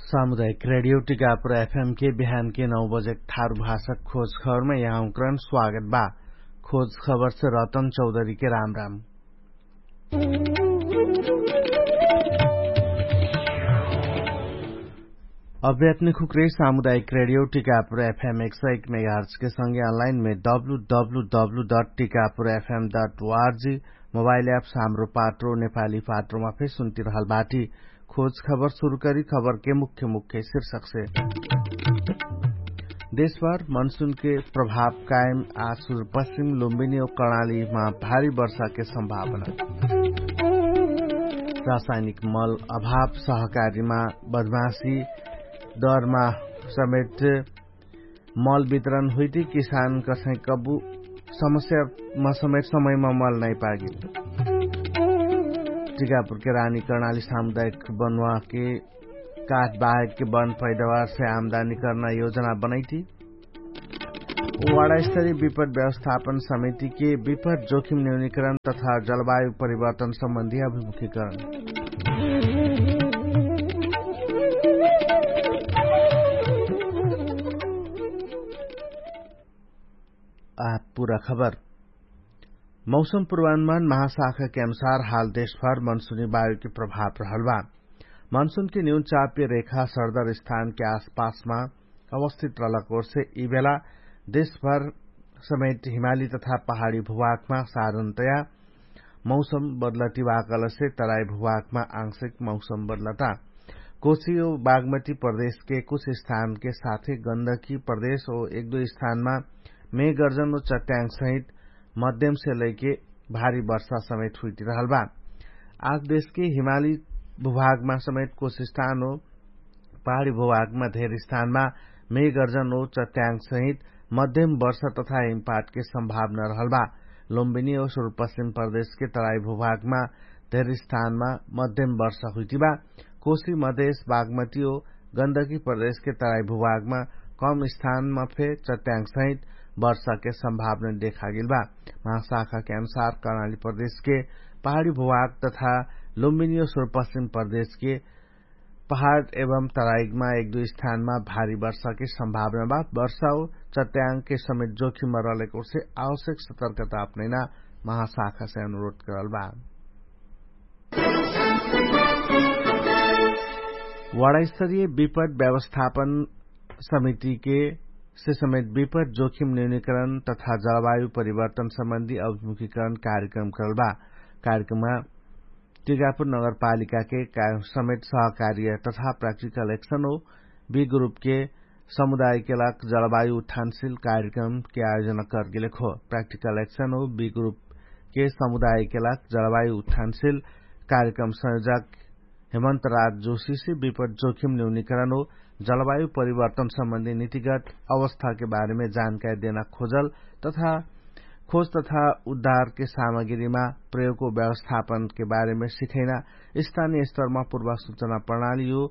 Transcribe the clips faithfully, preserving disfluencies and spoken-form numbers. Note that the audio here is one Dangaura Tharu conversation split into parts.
सामुदायिक रेडियो टिकापुर एफएम के बिहान के नौ बजे ठारु भाषा खोज खबरमा यहाँ उक्रन स्वागत बा। खोज खबर से रतन चौधरी के राम राम। अभ्यात्मिक हुक्रे सामुदायिक रेडियो टिकापुर एफएम एक सय एक मेगाहर्च के संगे अनलाइन मे W W W dot Tikapur FM dot ORG mobile apps Hamro Patro नेपाली पात्रोमा फेर सुन्तिरहल बाटी। खोज खबर सुरु करी खबर के मुख्य मुख्य शीर्षक से। देशभर मनसुन के प्रभाव कायम आ सुरु पश्चिम लुम्बिनी और कर्णाली मा भारी वर्षा के संभावना। रासायनिक मल अभाव सहकारी मा बदमासी दर मा समेत मल वितरण हुइटी किसान कसै कबु समस्या मा समेत समय मा मल नाइ पागिल। टिकापुर के रानी कर्णाली सामुदायिक बनुवा के काठ बाहेक के बन पैदावार से आमदानी कर्ना योजना बनैती। वाडास्तरी विपद व्यवस्थापन समिति के विपद जोखिम न्यूनिकरण तथा जलवायु परिवर्तन सम्बन्धी अभिमुखीकरण। आ पुरा खबर। मौसम पुर्वानुमान महाशाखा के अनुसार हाल देशभर मनसुनी वायु के प्रभाव रहल बा। मनसुन के न्यून चाप्य रेखा सरदर स्थान के आसपासमा अवस्थित रहलक ओर्से यि बेला देशभर समेत हिमाली तथा पहाडी भुभागमा साधनतया मौसम बदलटी वाकलसे तराई भुभागमा आंशिक मौसम बदलटा। कोशी ओ बागमती प्रदेश के कुछ स्थान के साथे गन्दकी प्रदेश ओ एक दुई स्थानमा मेघ गर्जन ओ चट्याङ्ग सहित मध्यम से लैके भारी वर्षा समेत हुइटिरहल बा। आज देश के हिमाली भुभागमा समेत कुछ स्थान ओ पहाडी भुभागमा धेर स्थानमा मेघ गर्जन ओ चट्याङ्ग सहित मध्यम वर्षा तथा हिमपात के सम्भावना रहल बा। लुम्बिनी ओ सुरुपश्चिम प्रदेश के तराई भुभागमा धेर स्थानमा मध्यम वर्षा हुइटिबा। कोशी मधेश बागमती ओ गन्दकी प्रदेश के तराई भुभागमा कम स्थानमा फे चट्याङ्ग सहित वर्षा के सम्भावना देखागेल बा। महाशाखा के अनुसार कर्णाली प्रदेश के पहाडी भुभाग तथा लुम्बिनी ओ सुरुपश्चिम प्रदेश के पहाड एवं तराइगमा एक दुई स्थानमा भारी वर्षा के सम्भावना बा। वर्षा ओ चट्याङ्ग के समेत जोखिम रहलेक ओर्से आवश्यक सतर्कता अपनैना महाशाखा से अनुरोध करल बा। वाडास्तरीय विपद व्यवस्थापन समिति के से समेत विपद जोखिम न्यूनिकरण तथा जलवायु परिवर्तन सम्बन्धी अभिमुखीकरण कार्यक्रम करल बा। कार्यक्रममा टिकापुर नगरपालिका के समेत सहकार्य तथा प्राक्टिकल एक्सन हो बी ग्रुप के समुदाय के लाग जलवायु उत्थानशील कार्यक्रम के आयोजना करगेलेक हो। प्राक्टिकल एक्सन हो बी ग्रुप के समुदाय के लाग जलवायु उत्थानशील कार्यक्रम संयोजक हेमन्त राज जोशी से विपद जोखिम न्यूनिकरण हो जलवायु परिवर्तन सम्बन्धी नीतिगत अवस्था के बारेमे जानकारी देना खोजल तथा खोज तथा उद्धार के सामग्रीमा प्रयोग हो व्यवस्थापन के बारेमे सिखैना स्थानीय स्तरमा पूर्व सूचना प्रणाली हो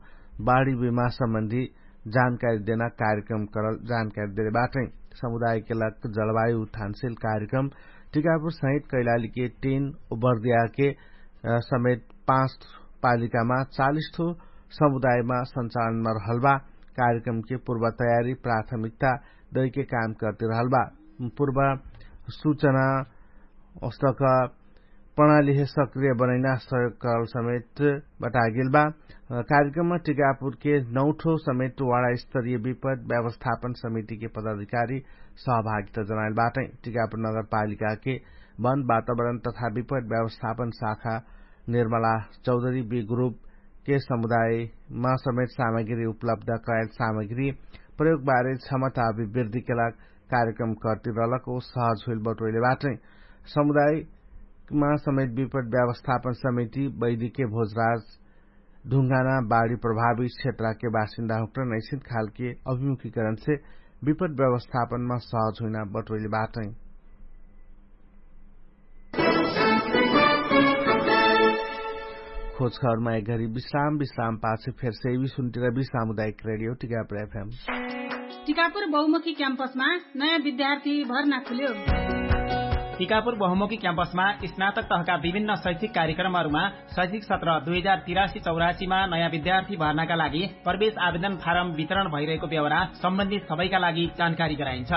बाढी बिमा सम्बन्धी जानकारी देना कार्यक्रम करल जानकारी देले बाटै। समुदाय के लक जलवायु उत्थानशील कार्यक्रम टिकापुर सहित कैलाली के तीन उबर्दिया के समेत पाँच पालिकामा चालिस ठो समुदायमा सञ्चालनमा रहल बा। कार्यक्रम के पूर्व तयारी प्राथमिकता दैके काम करते रहल बा। पूर्व सूचना औस्तक प्रणाली हे सक्रिय बनैना सहयोग करल समेत बतागेल बा। कार्यक्रममा टिकापुर के नौठो समेत वाडा स्तरीय विपद व्यवस्थापन समिति के पदाधिकारी सहभागिता जनाइल बाटै। टिकापुर नगरपालिका के वन वातावरण तथा विपद व्यवस्थापन शाखा निर्मला चौधरी बी ग्रुप के समुदायमा समेत सामग्री उपलब्ध कराइल सामग्री प्रयोगबारे क्षमता अभिवृद्धिके लाग कार्यक्रम करती रहलक ओ सहज होइल बटोइले बाटै। समुदायमा समेत विपद व्यवस्थापन समिति वैदिके भोजराज ढुङ्गाना बाढी प्रभावित क्षेत्रके बासिन्दा हुक्र नैसित खालके अभिमुखीकरणसे विपद व्यवस्थापनमा सहज हुइना बटोइले बाटै। खोजखबरमा एक घरी विश्राम विश्राम पाछे फेर सेवी सुन्टिरबी सामुदायिक रेडियो टिकापुर एफएम। टिकापुर बहुमुखी क्याम्पसमा नयाँ विद्यार्थी भर्ना खुल्यो। टिकापुर बहुमुखी क्याम्पसमा स्नातक तहका विभिन्न शैक्षिक कार्यक्रमहरूमा शैक्षिक सत्र दुई हजार तिरासी चौरासीमा नयाँ विद्यार्थी भर्नाका लागि प्रवेश आवेदन फारम वितरण भइरहेको व्यवहार सम्बन्धित सबैका लागि जानकारी गराइन्छ।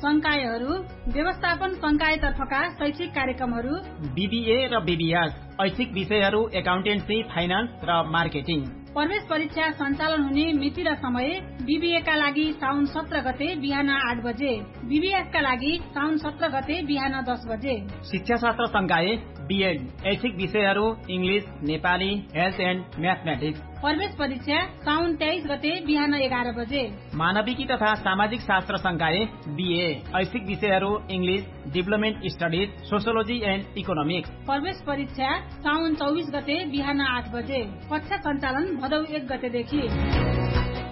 संकायहरू, व्यवस्थापन संकायतर्फका शैक्षिक कार्यक्रमहरू, बिबिए र बिबिएस, ऐच्छिक विषयहरू एकाउन्टेन्सी, फाइनान्स र मार्केटिङ। प्रवेश परीक्षा सञ्चालन हुने मिति र समय, बिबिएका लागि साउन सत्र गते बिहान आठ बजे, बिबिएसका लागि साउन सत्र गते बिहान दस बजे। शिक्षाशास्त्र संकाय, बिएड, ऐच्छिक विषयहरू, इङ्ग्लिस, नेपाली, हेल्थ एन्ड म्याथमेटिक्स। प्रवेश परीक्षा साउन तेइस गते बिहान एघार बजे। मानविकी तथा सामाजिक शास्त्र संकाय, बिए, ऐच्छिक विषयहरू, English, deployment studies, sociology end economics. प्रवेश परीक्षा साउन चौबिस गते बिहान आठ बजे। कक्षा सञ्चालन भदौ एक गतेदेखि।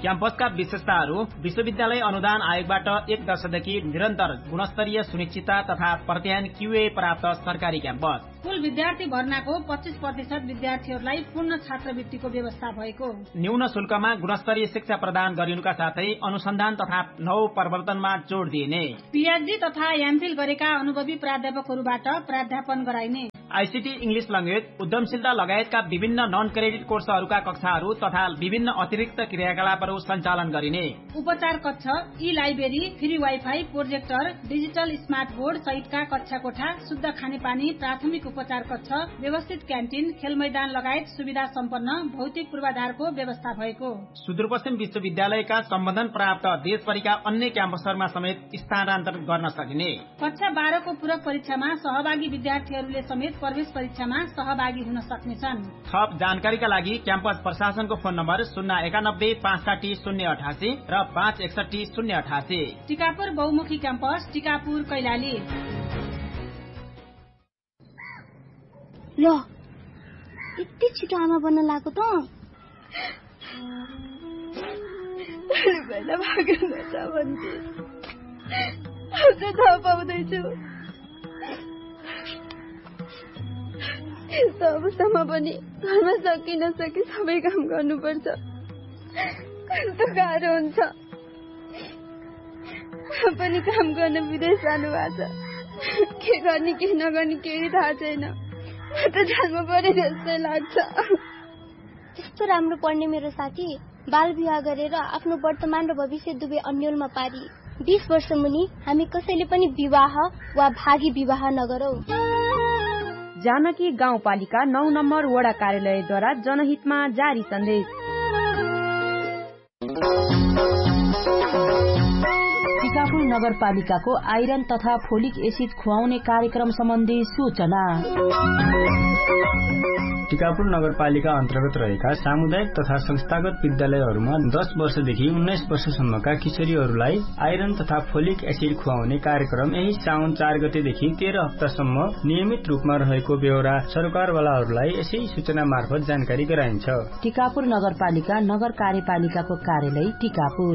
क्याम्पसका विशेषताहरू, विश्वविद्यालय अनुदान आयोगबाट एक दशकदेखि निरन्तर गुणस्तरीय सुनिश्चितता तथा प्रत्यायन क्युए प्राप्त सरकारी क्याम्पस। कुल विद्यार्थी भर्नाको पच्चिस प्रतिशत विद्यार्थीहरूलाई पूर्ण छात्रवृत्तिको व्यवस्था भएको। न्यून शुल्कमा गुणस्तरीय शिक्षा प्रदान गरिनुका साथै अनुसन्धान तथा नव प्रवर्तनमा जोड दिइने। पिएचडी तथा एमफिल गरेका अनुभवी प्राध्यापकहरूबाट प्राध्यापन गराइने। आइसिटी, इङ्ग्लिस ल्याङ्ग्वेज, उद्यमशीलता लगायतका विभिन्न नन क्रेडिट कोर्सहरूका कक्षाहरू तथा विभिन्न अतिरिक्त क्रियाकलापहरू सञ्चालन गरिने। उपचार कक्ष, ई library, free wifi, projector, digital smart board सहितका कक्षा कोठा, शुद्ध खानेपानी, प्राथमिक उपचार कक्ष, व्यवस्थित क्यान्टिन, खेलमैदान लगायत सुविधा सम्पन्न भौतिक पूर्वाधारको व्यवस्था भएको। सुदूरपश्चिम विश्वविद्यालयका सम्बन्धन प्राप्त देशभरिका अन्य क्याम्पसहरूमा समेत स्थानान्तरण गर्न सकिने। कक्षा बाह्रको पूरक परीक्षामा सहभागी विद्यार्थीहरूले समेत प्रवेश परीक्षामा सहभागी हुन सक्नेछन्। थप जानकारीका लागि क्याम्पस प्रशासनको फोन नम्बर शून्य एकानब्बे पाँच साठी शून्य अठासी र पाँच एकसट्ठी शून्य अठासी। टिकापुर बहुमुखी क्याम्पस, टिकापुर, कैलाली। ल, यति छिटो आमा बन्न लागेको त? पहिला भागेर जान्छ भन्थे। अब चाहिँ थाहा पाउँदैछु। यस्तो अवस्थामा पनि घरमा सकि नसकि सबै काम गर्नुपर्छ। कस्तो गाह्रो हुन्छ। पनि काम गर्न विदेश जानुभएको छ। के गर्ने के नगर्ने केही थाहा छैन। म त जानु पर्यो जस्तै लाग्छ। यस्तो राम्रो पढ्ने मेरो साथी बाल विवाह गरेर आफ्नो वर्तमान र भविष्य दुवै अन्योलमा पारी। बिस वर्ष मुनि हामी कसैले पनि विवाह वा भागी विवाह नगरौँ। जानकी गाउँपालिका नौ नम्बर वडा कार्यालयद्वारा जनहितमा जारी सन्देश। टिकापुर नगरपालिकाको आइरन तथा फोलिक एसिड खुवाउने कार्यक्रम सम्बन्धी सूचना। टिकापुर नगरपालिका अन्तर्गत रहेका सामुदायिक तथा संस्थागत विद्यालयहरूमा दस वर्षदेखि उन्नाइस वर्षसम्मका किशोरीहरूलाई आइरन तथा फोलिक एसिड खुवाउने कार्यक्रम यही साउन चार गतेदेखि तेह्र हप्तासम्म नियमित रूपमा रहेको बेहोरा सरकारवालाहरूलाई यसै सूचना मार्फत जानकारी गराइन्छ। टिकापुर नगरपालिका नगर कार्यपालिकाको कार्यालय टिकापुर।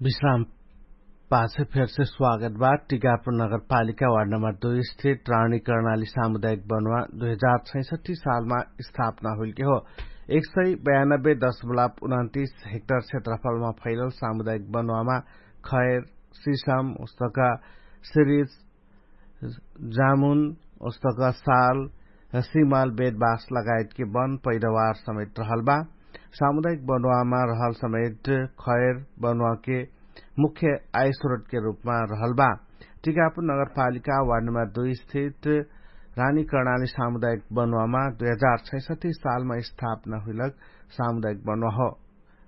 विश्राम पाछे फेरसे स्वागत बा। टिकापुर नगरपालिका वार्ड नम्बर दुई स्थित रानी कर्णाली सामुदायिक बनुवा दुई हजार छैसठी सालमा स्थापना हुइलके हो। एक सय बयानब्बे दशमलव उनन्तिस हेक्टर क्षेत्रफलमा फैलल सामुदायिक बनुवामा खैर, सिसम उस्तका, सिरिज, जामुन उस्तका, साल, सिमाल बेदबास लगायतके वन पैदावार समेत रहल बा। सामुदायिक बनुवामा रहल समेत खैर बनुवाके मुख्य आयस्रोतके रूपमा रहल बा। टिकापुर नगरपालिका वार्ड नम्बर दुई स्थित रानी कर्णाली सामुदायिक बनुवामा दुई हजार छैसठी सालमा स्थापना हुइलक सामुदायिक बनुवा हो।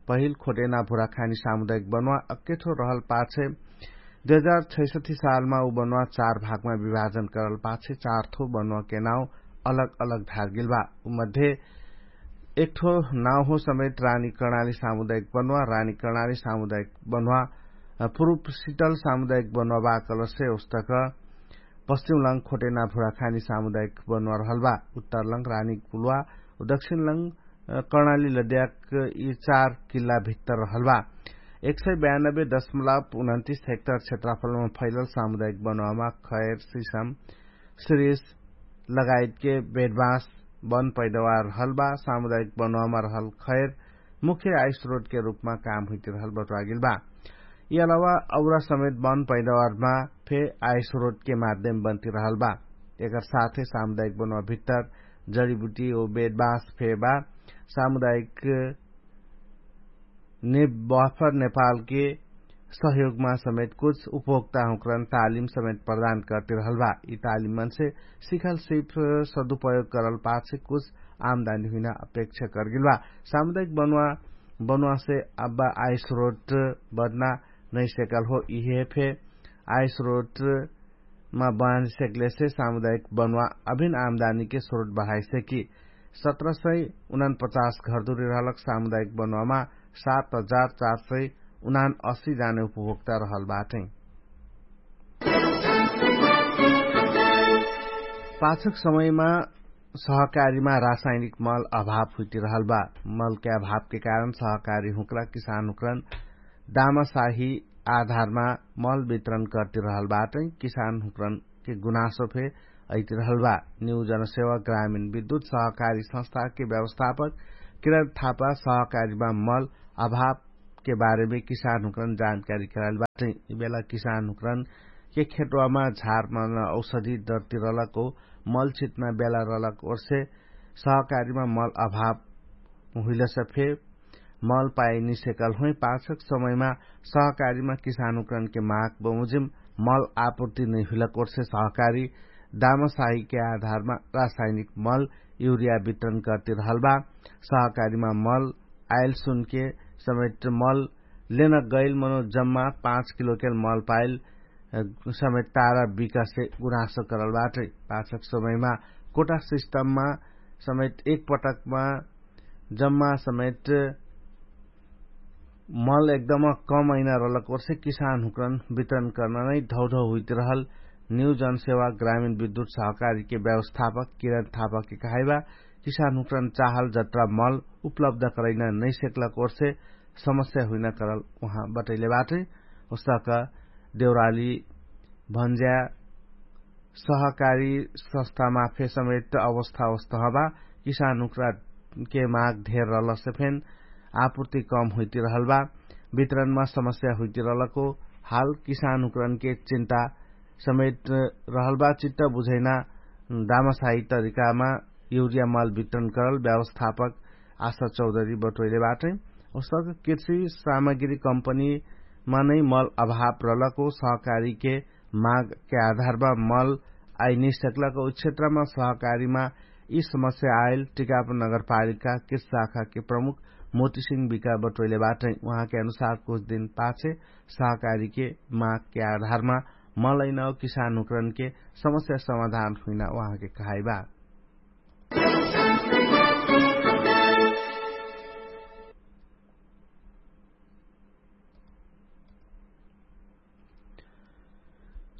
पहिल खोटेना भुराखानी सामुदायिक बनुवा अक्केठो रहल पाछे दुई हजार छैसठी सालमा उ बनुवा चार भागमा विभाजन करल पाछे चार थो बनुवाके नाउ अलग अलग धारगेल बा। उमध्ये एकठो नाउ हो समेत रानी कर्णाली सामुदायिक बनुवा। रानी कर्णाली सामुदायिक बनुवा पुरुप सिटल सामुदायिक बनुवा बा कलसे उस्तक पश्चिम लङ खोटेना भुराखानी सामुदायिक बनुवा रहल बा। उत्तर लङ रानी कुलवा, दक्षिण लङ कर्णाली लद्याक यि चार किल्ला भित्तर रहल बा। एक सय बयानब्बे दशमलव उनन्तिस हेक्टर क्षेत्रफलमा फैलल सामुदायिक बनुवामा खैर, सिसम, सिरिस लगायतके बेडबाँस वन पैदावार रहल बा। सामुदायिक बनुवामा रहल खैर मुख्य आयस्रोटके रूपमा काम हुइतिरहल बटुवागेल बा। यि अलावा औरा समेत बन पैदावारमा फे आयस्रोटके माध्यम बन्तिरहल बा। एकर साथे सामुदायिक बनुवा भित्तर जडिबुटी ओ बेदबास फे बा। सामुदायिक ने बफर नेपालके सहयोगमा समेत कुछ उपभोक्ताहुँकरन तालिम समेत प्रदान करतिरहल बा। यि तालिममनसे सिखल सिप सदुपयोग करल पाछे कुछ आमदानी हुइना अपेक्षा करगेल बा। सामुदायिक बनुवा बनुवासे अब्बा आयस्रोट बदना नैसेकल हो। इहे फे आयस्रोट मा बाँझ सेकलेसे सामुदायिक बनुवा अभिन आमदानीके स्रोट बढाइसेकी। सत्र सय उनान पचास घरदुरी रहलक सामुदायिक बनुवामा सात हजार चार सय उनान असी जाने उपभोक्ता रहल बाटै। पाछक समयमा सहकारीमा रासायनिक मल अभाव हुइतिरहल बा। मलके अभावके कारण सहकारी हुँक्रा किसान हुँक्रन दामासाही आधारमा मल वितरण करतिरहल बाटै। किसान हुँक्रनके गुनासो फे अइतिरहल बा। न्यू जनसेवा ग्रामीण विद्युत सहकारी संस्थाके व्यवस्थापक किरण थापा सहकारीमा मल अभावके बारेमे किसान हुँक्रन जानकारी कराइल बाटै। यि बेला किसान हुँक्रनके खेटवामा झारमन औषधी डरतिरलक हो मल छिटना बेला रहलक ओर्से सहकारीमा मल अभाव हुइलस फे मल पाइनिसेकल होइ। पाछक समयमा सहकारीमा किसान हुँक्रनके माग बमुजिम मल आपुर्ति नैहुइलक ओर्से सहकारी दामासाहीके आधारमा रासायनिक मल युरिया वितरण करतिरहल बा। सहकारीमा मल आइल सुनके समेट मल लेन गैल मनो जम्मा पाँच किलोकेल मल पाइल समेट तारा बिकासे गुनासो करल बाटै। पाछक समयमा कोटा सिस्टममा समेट एक पटकमा जम्मा समेट मल एकदम कम अइना रहलक ओर्से किसान हुँक्रन वितरण कर्ना नै धौधौ हुइतिरहल न्यू जनसेवा ग्रामीण विद्युत सहकारीके व्यवस्थापक किरण थापकके कहाइबा। किसान हुँक्रन चाहल जत्रा मल उपलब्ध करैना नैसेकलक ओर्से समस्या हुइना करल उहाँ बटैले बाटै। उस्तक देउराली भन्ज्या सहकारी संस्थामा फे समेट अवस्था अवस्था हबा। किसान हुँक्रा के माग धेर रहलसे फेन आपुर्ति कम हुइतिरहल बा। वितरणमा समस्या हुइतिरहलको हाल किसान हुँक्रनके चिन्ता समेट रहल बा। चित्त बुझैना दामासाही तरिकामा युरिया मल वितरण करल व्यवस्थापक आशा चौधरी बटोइले बाटै। उसक कृषि सामग्री कम्पनीमा नै मल अभाव रहलको सहकारीके मागके आधारमा मल आइनिसक्लक उ क्षेत्रमा सहकारीमा यि समस्या आइल टिकाप नगरपालिका कृषि शाखाके प्रमुख मोतिसिङ बिका बटोइले बाटै। उहाँके अनुसार कुछ दिन पाछे सहकारीके मागके आधारमा मलैनौ किसान हुँक्रनके समस्या समाधान हुइना उहाँके कहाइबा।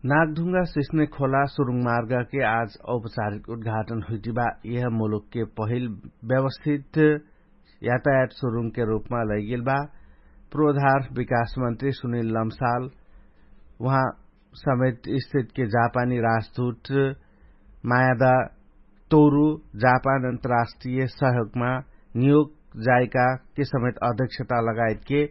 नागढुङ्गा सिस्ने खोला सुरुङ मार्गके आज औपचारिक उद्घाटन हुइटिबा। यह मुलुकके पहिल व्यवस्थित यातायात सुरुङके रूपमा लैगेल बा। पूर्वधार विकास मन्त्री सुनिल लम्साल उहाँ समेत स्थितके जापानी राजदूत मायादा तोरु जापान अन्तर्राष्ट्रिय सहयोगमा नियोग जाइकाके समेत अध्यक्षता लगायतके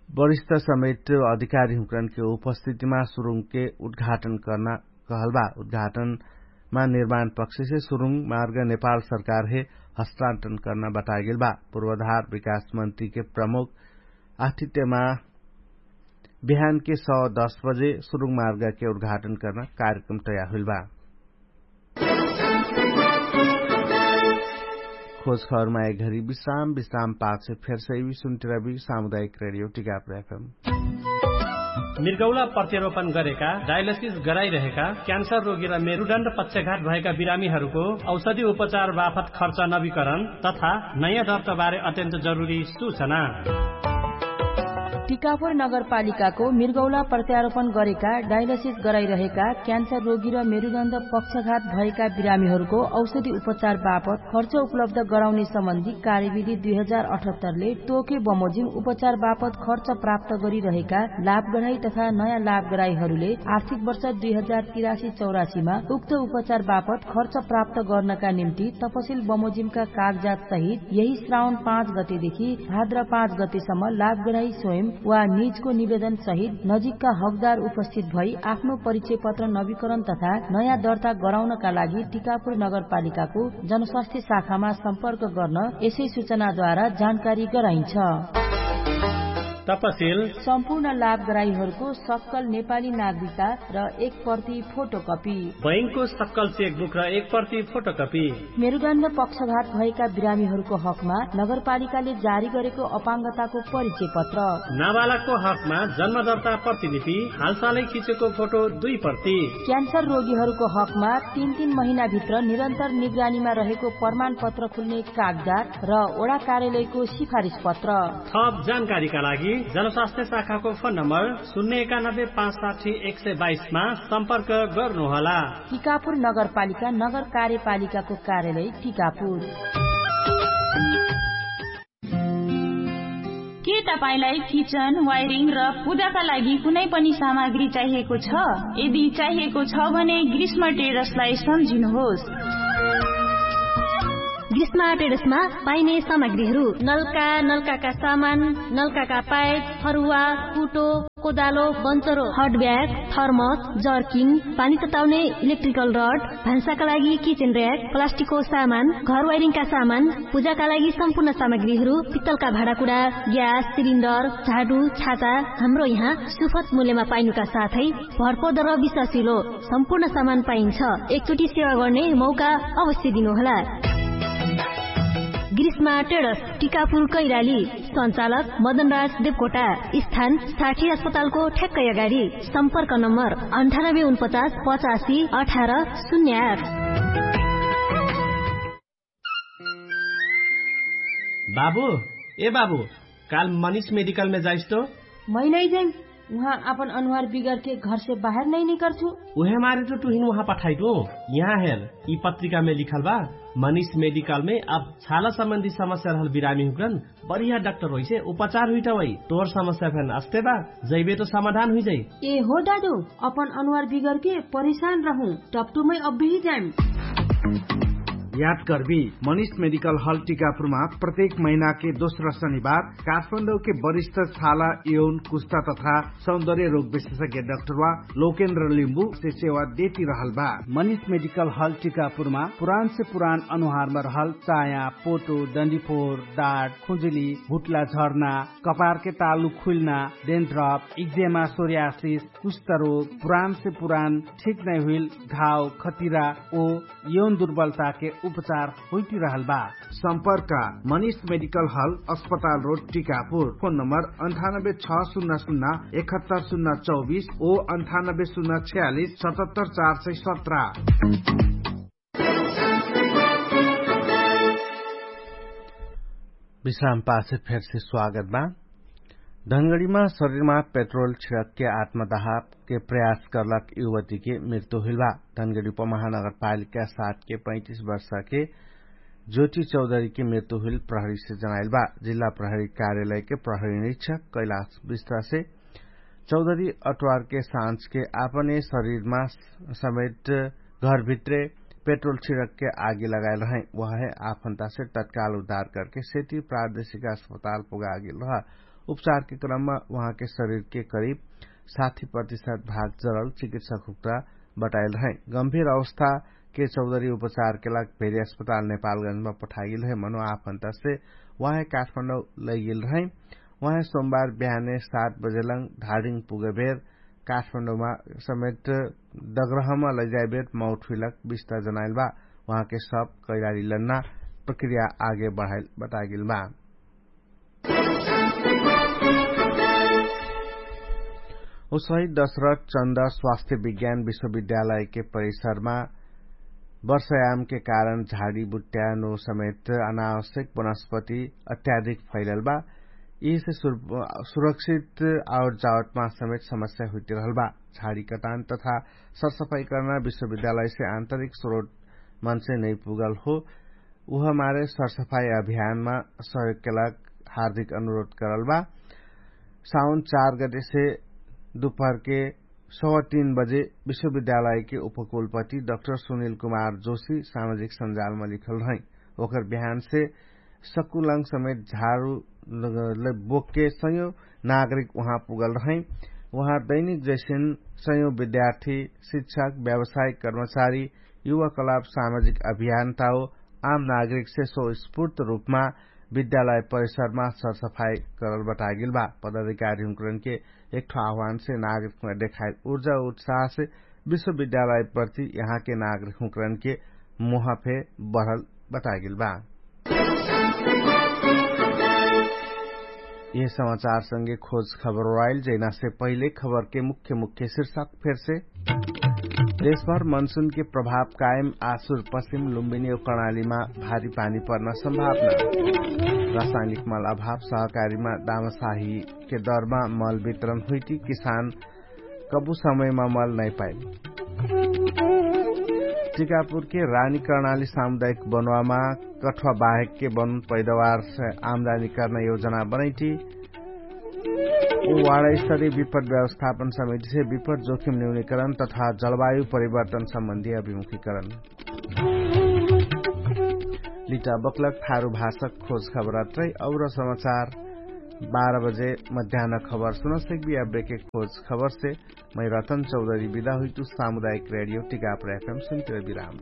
वरिष्ठ समेत अधिकारी हुँकरनके उपस्थितिमा सुरुङके उद्घाटन कर्ना कहल बा। उद्घाटनमा निर्माण पक्षसे सुरुङ मार्ग नेपाल सरकारहे हस्तान्तरण कर्ना बतागेल बा। पूर्वधार विकास मन्त्रीके प्रमुख आथित्यमा बिहानके सौ दस बजे सुरुङ मार्गके उद्घाटन कर्ना कार्यक्रम तयार हुइल बा। खोज खबरमा एक घरी विश्राम विश्राम पाछे फेरसैवी सुन्तिरबी सामुदायिक रेडियो टिकापुर एफएम। मिर्गौला प्रत्यारोपण गरेका डायलिसिस गराइरहेका क्यान्सर रोगी र मेरुडण्ड पक्षघात भएका बिरामीहरूको औषधि उपचार बाफत खर्च नवीकरण तथा नयाँ दर्तबारे अत्यन्त जरुरी सूचना। टिकापुर नगरपालिकाको मृगौला प्रत्यारोपण गरेका डायलिसिस गराइरहेका क्यान्सर रोगी र मेरुदण्ड पक्षघात भएका बिरामीहरूको औषधि उपचार बापत खर्च उपलब्ध गराउने सम्बन्धी कार्यविधि दुई हजार अठहत्तरले तोके बमोजिम उपचार बापत खर्च प्राप्त गरिरहेका लाभग्राही तथा नयाँ लाभग्राहीहरूले आर्थिक वर्ष दुई हजार तिरासी चौरासीमा उक्त उपचार बापत खर्च प्राप्त गर्नका निम्ति तपसिल बमोजिमका कागजात सहित यही श्रावण पाँच गतेदेखि भाद्र पाँच गतेसम्म लाभग्राही स्वयं वा निजको निवेदन सहित नजिकका हकदार उपस्थित भई आफ्नो परिचय पत्र नवीकरण तथा नयाँ दर्ता गराउनका लागि टिकापुर नगरपालिकाको जनस्वास्थ्य शाखामा सम्पर्क गर्न यसै सूचनाद्वारा जानकारी गराइन्छ। तपसिल सम्पूर्ण लाभग्राहीहरूको सक्कल नेपाली नागरिकता र एक प्रति फोटोकपी। बैंकको सक्कल चेकबुक र एक प्रति फोटोकपी। मेरुदण्ड पक्षघात भएका बिरामीहरूको हकमा नगरपालिकाले जारी गरेको अपाङ्गताको परिचय पत्र। नाबालकको हकमा जन्मदर्ता प्रतिलिपि, हालसालै खिचेको फोटो दुई प्रति। क्यान्सर रोगीहरूको हकमा तीन तीन महिनाभित्र निरन्तर निगरानीमा रहेको प्रमाणपत्र खुल्ने कागजात र वडा कार्यालयको सिफारिस पत्र। थप जानकारीका लागि जनस्वास्थ्य शाखाको फोन नम्बर शून्य एकानब्बे पाँच साठी एक सय बाइसमा सम्पर्क गर्नुहोला। टिकापुर नगरपालिका नगर कार्यपालिकाको कार्यालय टिकापुर। के तपाईंलाई किचन वायरिङ र पूजाका लागि कुनै पनि सामग्री चाहिएको छ? यदि चाहिएको छ भने ग्रीष्म ट्रेडर्सलाई सम्झिनुहोस्। ग्रीष्म ट्रेडर्समा पाइने सामग्रीहरू नल्का, नल्काका सामान, नल्काका पाइप, फरुवा, कुटो, कोदालो, बन्चरो, हट ब्याग, थर्मस, जर्किन, पानी तताउने इलेक्ट्रिकल रड, भान्साका लागि किचेन र्‍याक, प्लास्टिकको सामान, घर वायरिङका सामान, पूजाका लागि सम्पूर्ण सामग्रीहरू, पित्तलका भाँडाकुँडा, ग्यास सिलिन्डर, झाडु, छाता, हाम्रो यहाँ सुफत मूल्यमा पाइनुका साथै भरपर्दो र विश्वासिलो सम्पूर्ण सामान पाइन्छ। एकचोटि सेवा गर्ने मौका अवश्य दिनुहोला। ग्रीष्मा ट्रेडर्स, टिकापुर कैराली। सञ्चालक मदनराज देवकोटा। स्थान साठी अस्पतालको ठ्याक्कै अगाडि। सम्पर्क नम्बर अन्ठानब्बे उनपचास पचासी अठार शून्य आठ। बाबु, ए बाबु, काल मनिष मेडिकलमे जाइस तो? मै नै जाइम। उहाँ आपन अनुहार बिगरके घरसे बाहेर नै निकर्छु। उहे मारे तो तुहिन उहाँ पठाइटु। यहाँ हेर, यि पत्रिकामे लिखल बा, मनिष मेडिकलमे अब छाला सम्बन्धी समस्या रहल बिरामी हुक्रन बढिया डाक्टर होइसे उपचार हुइटा वै। तोर समस्या फेन अस्ते बा, जैबे तो समाधान हुइजै। ए हो दादु, अपन अनुहार बिगरके परिशान रहु, टपटुमै अब्बिही जाइम। याद कर्बी, मनिष मेडिकल हल टिकापुरमा प्रत्येक महिनाके दोस्रा शनिबार काठमाडौके वरिष्ठ छाला यौन कुस्ता तथा सौन्दर्य रोग विशेषज्ञ डाक्टरवा लोकेन्द्र लिम्बु से सेवा देती रहल बा। मनिष मेडिकल हल टिकापुरमा पुरान से पुरान अनुहारमा रहल चाया, पोटो, डन्डीफोर, डाट, खुजुली, भुट्ला झर्ना, कपारके तालु खुल्ना, डेन्ड्रप, इक्जेमा, सोर्यासिस, कुष्ठरोग, पुरान से पुरान ठिक नै हुइल घाव, खतिरा ओ यौन दुर्बलताके उपचार होइटिरहल बा। सम्पर्क मनिष मेडिकल हल, अस्पताल रोड, टिकापुर। फोन नम्बर अन्ठानब्बे छ सुन्ना सुन्ना एकहत्तर सुन्ना चौबिस ओ अन्ठानब्बे सुन्ना छ्यालिस सतहत्तर चार सय सत्र। विश्राम पाछे फेरसे स्वागत बा। धनगढीमा शरीरमा पेट्रोल छिडकके आत्मदाहके प्रयास करलक युवतीके मृत्यु हुइल बा। धनगढी उपमहानगरपालिका सातके पैतिस वर्षके ज्योति चौधरीके मृत्यु हुइल प्रहरीसे जनाइल बा। जिल्ला प्रहरी कार्यालयके प्रहरी निरीक्षक कैलाश विश्वासे चौधरी अटवारके साँझके आपने शरीरमा समेट घरभित्रे पेट्रोल छिडकके आगी लगाएल रहै। उहाँहे आफन्तासे तत्काल उद्धार करके सेती प्रादेशिक अस्पताल पुगागेल रह। उपचारके क्रममा उहाँके शरीरके करिब साठी प्रतिशत भाग जरल चिकित्सक हुक्ता बताएल रहै। गम्भीर अवस्थाके चौधरी उपचारके लाग भेरी अस्पताल नेपालगंजमा पठागेल रहै मनो आफन्तासे उहाँहे काठमाडौं लैगेल रहै। उहाँहे सोमबार बिहाने सात बजेलङ धाडिङ पुगेबेर काठमाडौंमा समेट डगरहमा लैजाइबेर मौत हुइलक बिस्ता जनाइल बा। उहाँके सब कैलाली लन्ना प्रक्रिया आगे बढाइल बतागेल बा। उसै दशरथ चन्द स्वास्थ्य विज्ञान विश्वविद्यालयके परिसरमा वर्षयामके कारण झाडीबुट्यानो समेट अनावश्यक वनस्पति अत्याधिक फैलल बा। यिसे सुरक्षित आउर जावटमा समेत समस्या हुइटिरहल बा। झाडी कटान तथा सरसफाई कर्ना विश्वविद्यालयसे आन्तरिक स्रोट मनसे नैपुगल हो। उहमारे सरसफाई अभियानमा सहयोगके लाग हार्दिक अनुरोध करल बा। साउन चार गदेसे दुपहरके सवा तीन बजे विश्वविद्यालयके उपकुलपति डक्टर सुनिल कुमार जोशी सामाजिक सञ्जालमा लिखल रहै। ओकर बिहानसे सकुलङ समेत झाडु बोकके सयौं नागरिक उहाँ पुगल रहै। उहाँ दैनिक जैसिन सयौं विद्यार्थी, शिक्षक, व्यावसायिक कर्मचारी, युवा कलाप, सामाजिक अभियान ताओ आम नागरिकसे सो स्फूर्त रूपमा विद्यालय परिसरमा सरसफाई करल बटागेल बा। पदाधिकारी हुँकरनके एकठो आह्वानसे नागरिकमा देखाइल उर्जा उत्साहसे विश्वविद्यालय प्रति यहाँके नागरिक हुँकरनके मोहफे बढल बटागेल बा। यह समाचारसँगे खोज खबर ओराइल जैनासे पहिले खबरके मुख्य मुख्य शीर्षक फेरसे। देशभर मनसुनके प्रभाव कायम आसुर पश्चिम लुम्बिनी औ कर्णालीमा भारी पानी पर्ना सम्भावना। रासायनिक मल अभाव सहकारीमा दामसाहीके दरमा मल वितरण हुइटी किसान कबु समयमा मल नैपाइल। टिकापुरके रानी कर्णाली सामुदायिक बनुवामा कठुवा बाहेकके बनुन पैदावारसे आमदानी कर्ना योजना बनैटी। उ वाडास्तरी विपट व्यवस्थापन समितिसे विपट जोखिम न्यूनिकरण तथा जलवायु परिवर्तन सम्बन्धी अभिमुखिकरण। लिटा बक्लक थारु भाषक खोज खबरात्रै और समाचार बाह्र बजे मध्यान खबर सुनसक्बी। अब्बेके खोज खबरसे मै रतन चौधरी विदा हुइतु। सामुदायिक रेडियो टिकापुर एफएम सुन्तिर विराम।